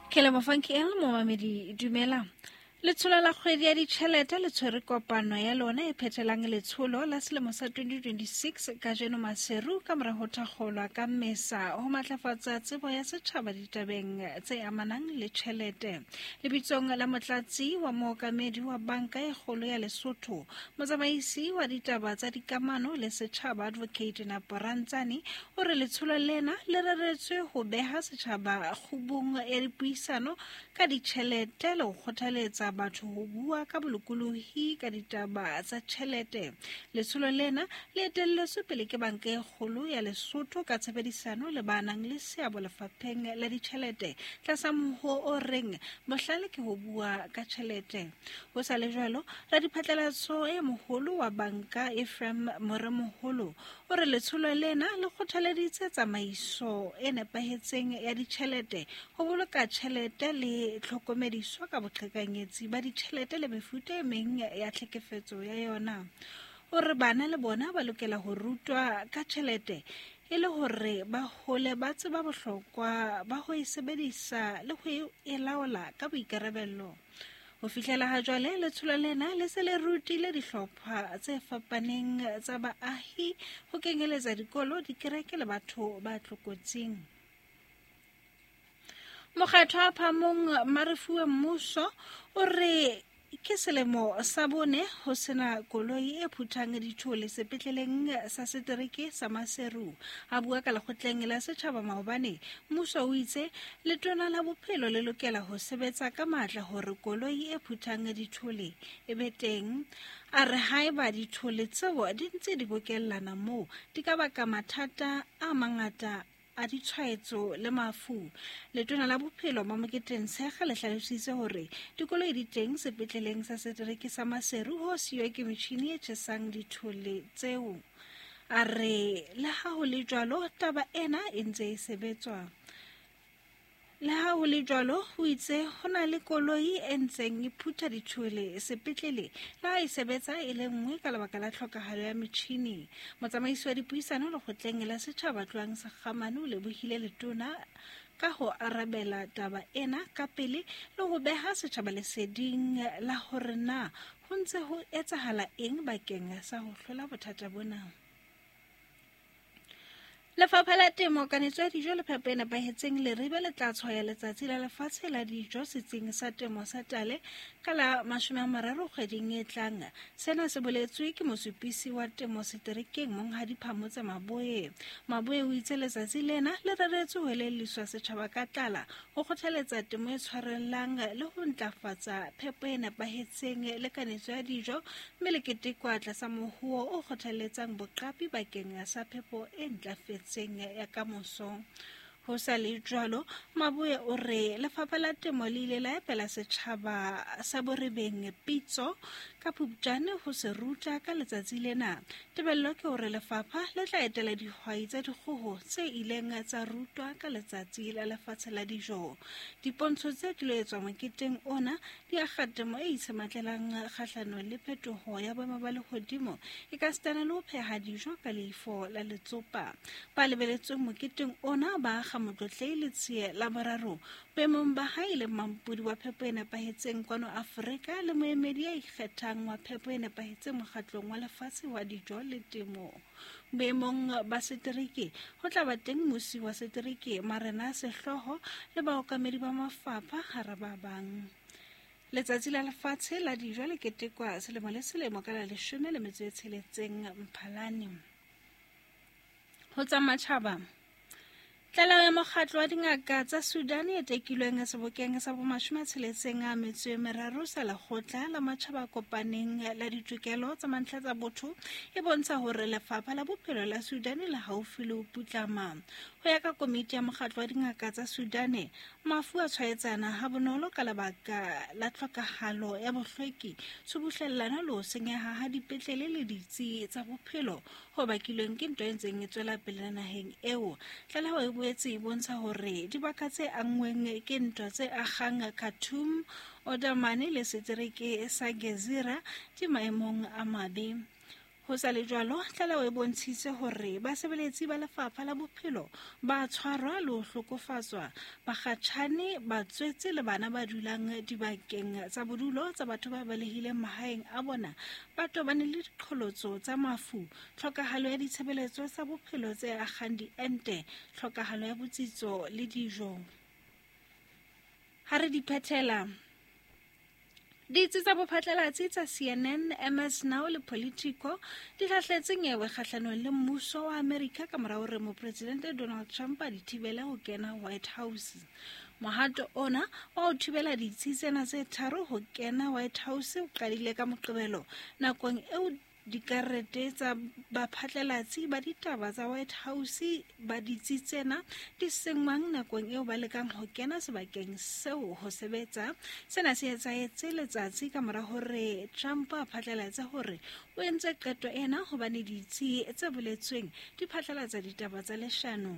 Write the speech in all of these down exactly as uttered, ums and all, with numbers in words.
Ke leboha Funky L momamedi, dumela. Letsholo la kgwedi ya ditjhelete le tshwere kopano ya lona e phethelang letsholo la selemo sa twenty twenty-six kajeno Maseru ka mora ho thakgolwa ka Mmesa ho matlafatsa tsebo ya setjhaba ditabeng tse amanang le tjhelete. Lebitsong la motlatsi wa mookamedi wa banka e kgolo ya Lesotho, motsamaisi wa ditaba tsa dikamano le setjhaba Advocate Napo Rantsane o re letsholo lena le reretswe ho beha setjhaba kgubung ya dipuisano ka ditjhelete le ho kgothaletsa batho ho bua ka bolokolohi ka ditaba tsa tjhelete. Letsholo lena le etelletswe pele ke banka e kgolo ya Lesotho ka tshebedisano le ba nang le seabo lefapheng la ditjhelete tlasa mohoo o reng bohlale ke ho bua ka tjhelete. Ho sa le jwalo, radiphatlalatso e moholo wa banka Ephraim Moremoholo o re letsholo lena le kgothaleditse tsamaiso e nepahetseng ya ditjhelete, ho boloka tjhelete le tlhokomediso ka boqhekanyetsi ba ditjhelete le mefuta e meng ya tlhekefetso ya yona. O re bana le bona ba lokela ho rutwa ka tjhelete e le hore ba hole ba tseba bohlokwa ba ho e sebedisa le ho e laola ka boikarabello. Ho fihlela ha jwale, letsholo lena le se le rutile dihlopha tse fapaneng tsa baahi ho kenyeletsa dikolo, dikereke le batho ba tlokotsing. Mokgatlo wa Phamong Marefuwe Mmuso o re ke selemo sa bone ho sena koloi e phuthang dithole sepetleleng sa setereke sa Maseru. A bua ka lekgotleng la setjhaba maobane, mmuso o itse letona la bophelo le lokela ho sebetsa ka matla hore koloi e phuthang dithole e be teng. A re haeba dithole tseo di ntse di bokellana moo, di ka baka mathata a mangata a ditshwaetso le mafu. Letona la bophelo Mamoketeng Tshekga le hlalositse hore dikoloi di teng sepetleleng sa setereke sa Maseru ho siyo ke metjhini e tjhesang dithole tseo. A re le ha ho le jwalo, taba ena e ntse e sebetswa. Le ha ho le jwalo, ho itse ho na le koloi e ntseng e phutha dithole sepetlele le ha e sebetsa e le nngwe ka lebaka la tlhokahalo ya metjhini. Motsamaisi wa dipuisano lekgotleng la setjhaba Tloang Sekgamane o lebohile letona ka ho arabela taba ena ka pele le ho beha setjhaba leseding la hore na ho ntse ho etsahala eng bakeng sa ho hlola bothata bona. Lefapha la Temo, Kanetso ya Dijo le Phepo e Nepahetseng Leribe le tla tshwaya Letsatsi la Lefatshe la Dijo setsing sa temo sa Tale ka la mashome a mararo kgweding e tlang. Sena se boletswe ke mosupisi wa temo seterekeng Monghadi Phamotse Maboe. Maboe o itse letsatsi lena le reretswe ho elelliswa setjhaba ka tlala, ho kgothaletsa temo e tshwarellang le ho ntlafatsa phepo e nepahetseng le kanetso ya dijo, mme le ketekwa tlasa mohoo o kgothaletsang boqapi bakeng sa phepo e ntlafetseng ya kamoso. Ho sa le jwalo, Maboe o re lefapha la temo le ile la epela setjhaba sa Borebeng pitso ka Phupjane ho se ruta ka letsatsi lena. Tebello ke hore lefapha le tla etela dihwai tsa dikgoho tse ileng tsa rutwa ka Letsatsi la Lefatshe la Dijo. Dipontsho tse tlilo etswa moketeng ona di akga temo e itshematlelang kgahlanong le phetoho ya boemo ba lehodimo ekasitana le ho pheha dijo ka leifo la letsopa. Ba lebeletsweng moketeng ona ba akga Motlotlei Letsie la boraro boemong ba hae le mampodi wa phepo e nepahetseng kwano Afrika le moemedi ya ikgethang wa phepo e nepahetseng mokgatlong wa lefatshe wa dijo le temo. Boemong ba setereke ho tla ba teng musi wa setereke Marena Sehlooho le baokamedi ba mafapha hara ba bang. Letsatsi la Lefatshe la Dijo le ketekwa selemo le selemo ka la leshome le metso e tsheletseng Mphalane. Ho tsa matjhaba, tlaleho ya mokgatlo wa dingaka tsa Sudan e tekilweng sebokeng sa bomashome a tsheletseng a metso e meraro sa lekgotla la matjhaba a kopaneng la ditokelo tsa mantlha tsa botho e bontsha hore lefapha la bophelo la Sudan le haufi le ho putlama. Ho ya ka komiti ya mokgatlo wa dingaka tsa Sudan, mafu a tshwaetsana ha bonolo ka lebaka la tlhokahalo ya bohlweki, tshubuhlellano le ho senyeha ha dipetlele le ditsi tsa bophelo ho bakilweng ke ntwa e ntseng e tswela pele naheng eo. Tlaleho e boetse e bontsha hore dibaka tse anngweng ke ntwa tse akgang Khartoum, Omdurman le setereke sa Gezira di maemong a mabe. Ho sa le jwalo, tlaleho e bontshitse hore basebeletsi ba lefapha la bophelo ba tshwarwa le ho hlokofatswa, bakgatjhane, batswetse le bana ba dulang dibakeng tsa bodulo tsa batho ba balehileng mahaeng a bona ba tobane le diqholotso tsa mafu, tlhokahalo ya ditshebeletso tsa bophelo tse akgang diente, tlhokahalo ya botsitso le dijo. Ha re di phethela, ditsi tsa bophatlalatsi tsa C N N, M S Now le Politico di hlahletse nyewe kgahlanong le mmuso wa Amerika ka mora hore mopresidente Donald Trump a di thibele ho kena White House. Mohato ona wa ho thibela ditsi tsena tse tharo ho kena White House o qadile ka Moqebelo nakong eo dikarete tsa baphatlalatsi ba ditaba tsa White House ba ditsi tsena di senngwang nakong eo ba lekang ho kena sebakeng seo ho sebetsa. Sena se etsahetse letsatsi ka mora hore Trump a phatlalatse hore o entse qeto ena hobane ditsi tse boletsweng di phatlalatsa ditaba tsa leshano.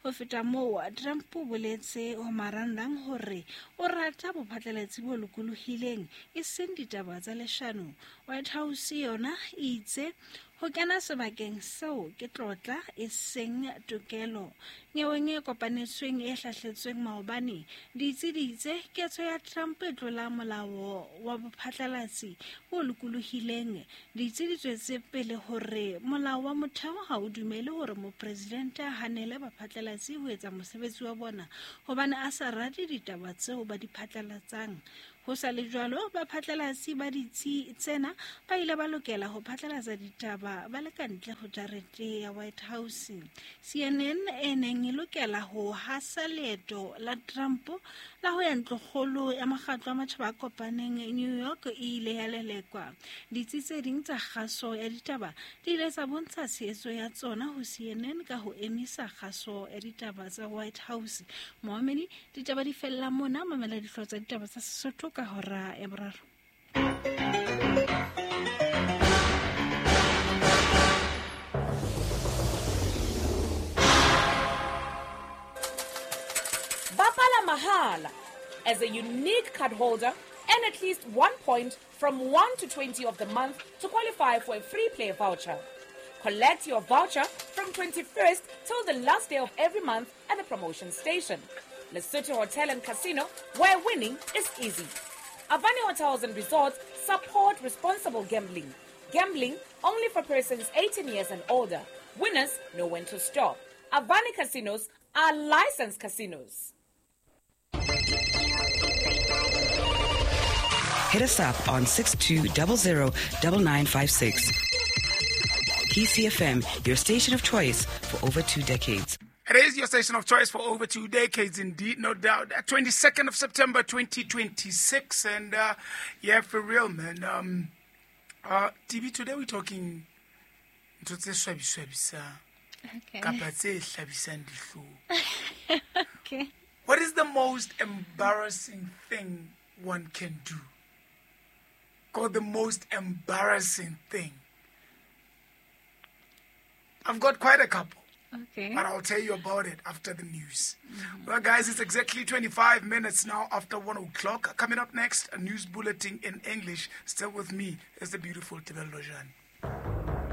Ho feta moo, Trump o boletse ho marangrang hore o rata bophatlalatsi bo lokolohileng, e seng ditaba tsa leshano. White House yona e itse ho kena sebakeng seo ke tlotla e seng tokelo. Nyeweng e kopanetsweng e hlahletsweng maobane, ditsi di itse ketso ya Trump e tlola molao wa bophatlalatsi bo lokolohileng. Ditsi di tswetse pele hore molao wa motheo ha o dumele hore mopresidente a hanele baphatlalatsi ho etsa mosebetsi wa bona hobane a sa rate ditaba tseo ba di phatlalatsang. Ho sa le jwalo, baphatlalatsi ba ditsi tsena ba ile ba lokela ho phatlalatsa ditaba ba le ka ntle ho jarete ya White House. C N N e neng e lokela ho hasa leeto la Trump la ho ya ntlokgolo ya mokgatlo wa matjhaba a kopaneng New York e ile ya lelekwa. Ditsi tse ding tsa kgaso ya ditaba di ile tsa bontsha tshehetso ya tsona ho C N N ka ho emisa kgaso ya ditaba tsa White House. Moamedi, ditaba di fella mona, mamela dihlooho tsa ditaba tsa Sesotho ka hora ya boraro. Bapala mahala as a unique card holder and at least one point from one to twenty of the month to qualify for a free play voucher. Collect your voucher from twenty-first till the last day of every month at the promotion station. Lesotho Hotel and Casino, where winning is easy. Avani Hotels and Resorts support responsible gambling. Gambling only for persons eighteen years and older. Winners know when to stop. Avani Casinos are licensed casinos. Hit us up on six two zero zero nine nine five six. P C F M, your station of choice for over two decades. It is your station of choice for over two decades, indeed, no doubt. twenty-second of September, twenty twenty-six. And, uh, yeah, for real, man. Um, uh, T V, today we're talking ntho tse swabiswabisang. Okay. Kapa tse hlabisang dihlong. Okay. What is the most embarrassing thing one can do? Called the most embarrassing thing. I've got quite a couple. Okay. But I'll tell you about it after the news. Mm-hmm. Well, guys, it's exactly twenty-five minutes now after one o'clock. Coming up next, a news bulletin in English. Still with me is the beautiful Tebello Jan.